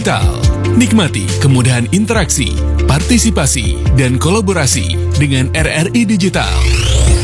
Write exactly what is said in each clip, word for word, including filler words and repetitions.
Digital. Nikmati kemudahan interaksi, partisipasi, dan kolaborasi dengan R R I Digital.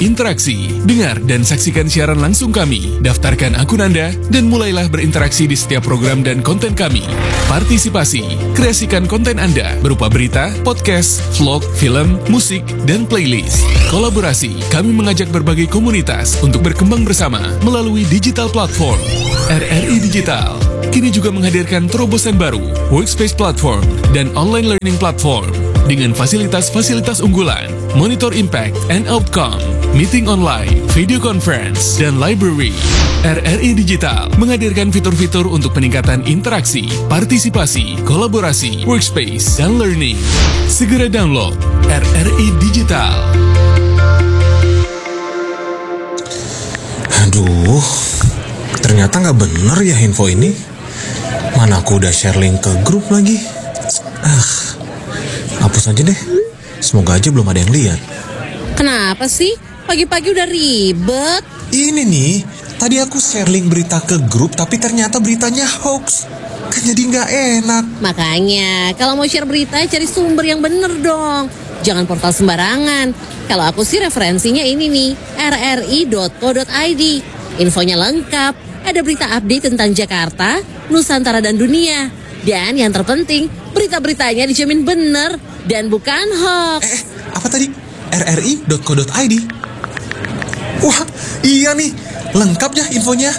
Interaksi, dengar dan saksikan siaran langsung kami. Daftarkan akun Anda dan mulailah berinteraksi di setiap program dan konten kami. Partisipasi, kreasikan konten Anda berupa berita, podcast, vlog, film, musik, dan playlist. Kolaborasi, kami mengajak berbagai komunitas untuk berkembang bersama melalui digital platform. R R I Digital kini juga menghadirkan terobosan baru, Workspace Platform dan Online Learning Platform, dengan fasilitas-fasilitas unggulan, Monitor Impact and Outcome, Meeting Online, Video Conference, dan Library. R R I Digital menghadirkan fitur-fitur untuk peningkatan interaksi, partisipasi, kolaborasi, workspace, dan learning. Segera download R R I Digital. Aduh, ternyata nggak bener ya info ini. Mana aku udah share link ke grup lagi. Ah, hapus aja deh. Semoga aja belum ada yang lihat. Kenapa sih? Pagi-pagi udah ribet. Ini nih, tadi aku share link berita ke grup tapi ternyata beritanya hoax. Kan jadi nggak enak. Makanya, kalau mau share berita, cari sumber yang bener dong. Jangan portal sembarangan. Kalau aku sih referensinya ini nih, R R I dot co dot I D. Infonya lengkap. Ada berita update tentang Jakarta, Nusantara dan dunia. Dan yang terpenting, berita-beritanya dijamin bener dan bukan hoax. Eh, apa tadi? R R I dot co dot I D. Wah, iya nih. Lengkap ya infonya.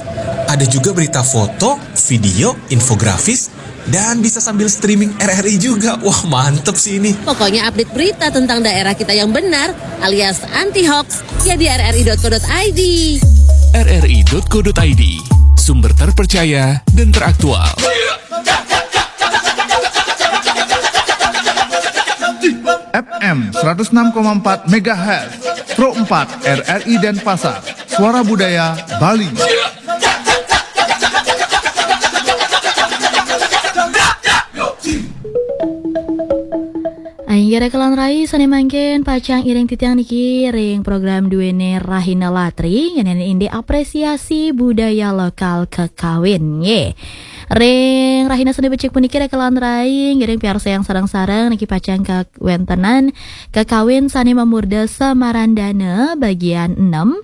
Ada juga berita foto, video, infografis, dan bisa sambil streaming R R I juga. Wah, mantep sih ini. Pokoknya update berita tentang daerah kita yang benar alias anti hoax ya di R R I dot co dot I D. R R I dot co dot I D, sumber terpercaya dan teraktual. F M seratus enam koma empat megahertz, Pro empat R R I Denpasar, Suara Budaya Bali. Aing gere kelan rai sane mangkin pacang iring titiang niki ring program duene Rahina Latri ngeneni inde apresiasi budaya lokal kekawin ye. Ring Rahina sane becik puniki rekelan rai ngiring piarsa yang sareng-sareng niki pacang kawentenan kekawin sane mamurda Samarandana bagian enam.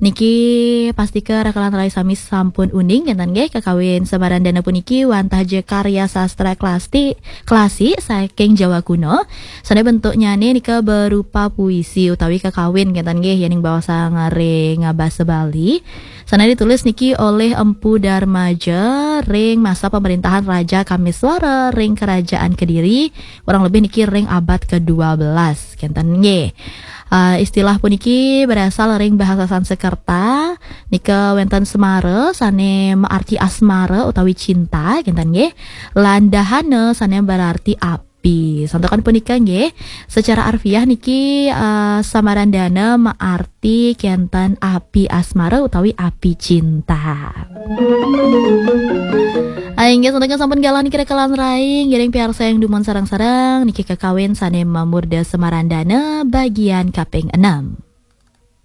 Niki pastika rekelan rai sami sampun uning ngenten nggih kekawin Samarandana puniki wantah je karya sastra klasi, klasi saking Jawa kuno. Sane bentuknyane nika berupa puisi utawi kekawin ngenten nggih yening bawasang ring basa Bali. Sane ditulis niki oleh Empu Darmaja ring masa pemerintahan Raja Kamiswara ring Kerajaan Kediri, kurang lebih niki ring abad kedua belas ngenten nggih. Uh, istilah puniki berasal ring bahasa Sanskerta. Nika wenten semara sane maarti asmara utawi cinta ngenten nggih. Lan dahana sane berarti api. Santukan punika nggih, secara arfiah niki uh, Samarandana maarti kenten api asmara utawi api cinta. Inggih santukan sampun galah niki rekelan rai ngiring piarsa yang dumun sareng-sareng niki kekawin sane mamurda Samarandana bagian kaping enam.